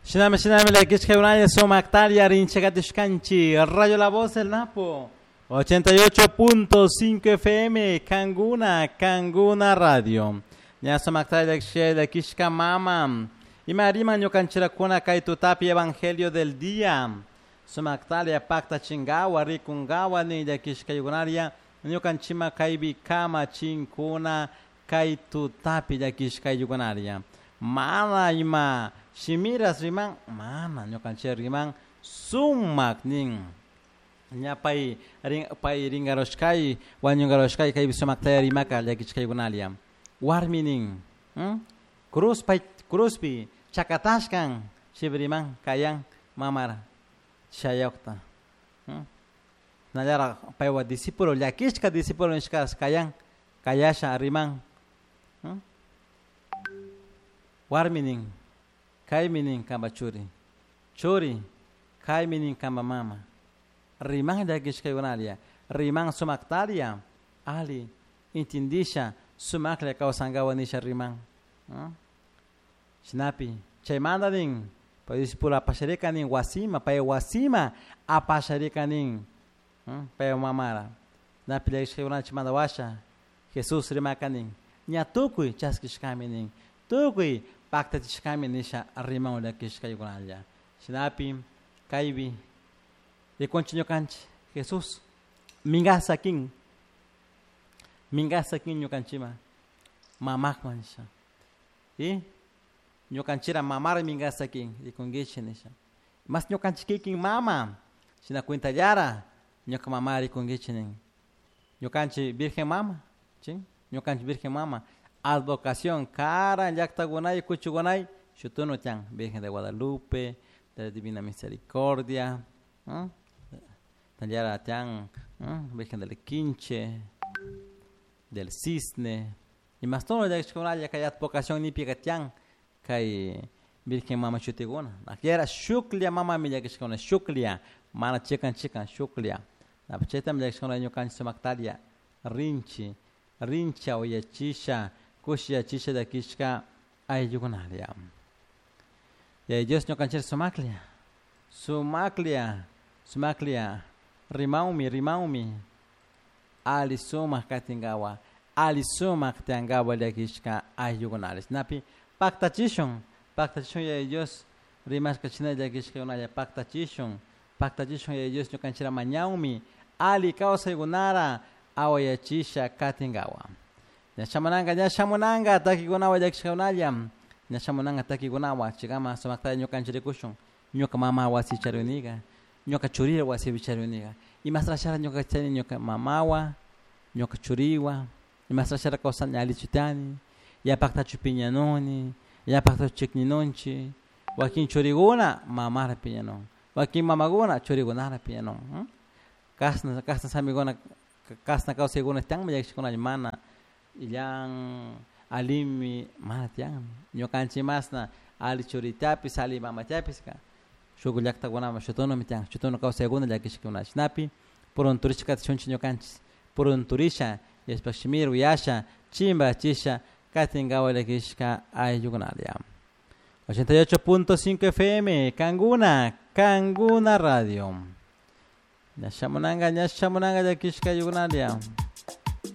Shinami shinami llakishka sumaktaria rinchakatishkanchi Radio La Voz del Napo 88.5 FM Kanguna Kanguna Radio. Ña sumaktaria llakishka mama. Ima rima ñukanchirakuna kay tutapi Evangelio del día. Sumaktaria pakta chingawa rikungawa ni llakishkaykunaria ñukanchima kaypi kama chinkuna kay tutapi llakishkaykunaria. Mana ima shimiras riman mana ñukanchik riman sumak nin. Ña pay rin pay ringaroshkay wañungaroshkay kaypi sumaktaya rimaka llakichkaykunalia. Warmi nin cruz pay cruzpi chakatashkan riman kayan mamara shayaqta. Nallara paywa discípulo llakishka discípulo nishkas kayan kayasha riman. Warmi nin kaymi nin kamba churi churi kaymi nin kamba mama riman llakishkaykunalia riman sumaktaria ali intindisha sumaklla kawsankawa nisha riman. Shinapi chaymanta nin pay discípulo apasharika nin wasima pay wasima apasharika nin pay mamara napi llakishkaykuna chaymanta washa Jesús rimaka nin ña tukuy chaskishkami nin tukuy paktachishkami nisha riman llakishkaykunalla. Shinapi kaypi rikunchik ñukanchik Jesús minkasakin minkasakin ñukanchikman mamakman nisha y ñukanchira mamara minkasakin rikunkichik nisha mas ñukanchik kikin mama shina cuentallara ñuka mama rikunkichik nin ñukanchik virgen mama chin ñukanchik virgen mama advocación karan llaktakunay kuchukunay shutunu tiyan Virgen de Guadalupe de la Divina Misericordia tallara tiyan Virgen del Quinche del Cisne y mas todo llakishkunalla kay advocación nipika tiyan kay Virgen mama shutikuna akllera shuklla mamami llakishkuna shuklla mana chikan chikan shuklla chaytami llakishkuna ñukanchik sumaktaria rinchi rincha uyachisha kushiyachisha llakishka ayllukunalia. Yaya Dios ñukanchik sumaklla sumaklla sumaklla rimanmi rimanmi ali sumak katinkawa ali sumak tiyankawa llakishka ayllukunalla. Shinapi paktachishun paktachishun Yaya Dios rimashka shina llakishkakunalla paktachishun paktachishun Yaya Dios ñukanchikra mañawmi ali kawsaykunara awayachisha katinkawa. Ña shamunanka ña shamunanka takikunawa llakishkakunalla ña shamunanka takikunawa chikama sumaktalla ñukanchik rikushun ñuka mama wasi chariniga ñuka churira wasipi chariniga imasrashara ñuka chani ñuka mamawa ñuka churiwa imasrashara kawsani allichu tiyani yapaktachu piñanuni yapaktachu chikninunchik wakin churikuna mamara piñanun wakin mamakuna churikunara piñanun kasna kasna samikuna kasna kawsaykuna tiyanmi llakishkunalla mana illan alimi mana tiyanmi ñukanchik masna ali churitapis ali mamatapis shuk llaktakunaman shutunumi tiyan shutunu kawsaykuna llakishkuna shinapi purunturishka katishunchik ñukanchik purunturisha Dioshpak shimira uyasha chimbachisha katinkawa llakishka ayllukunalla. 88.5 FM Kanguna Kanguna Radio. Ña shamunanka ña shamunanka llakishka ayllukunalla.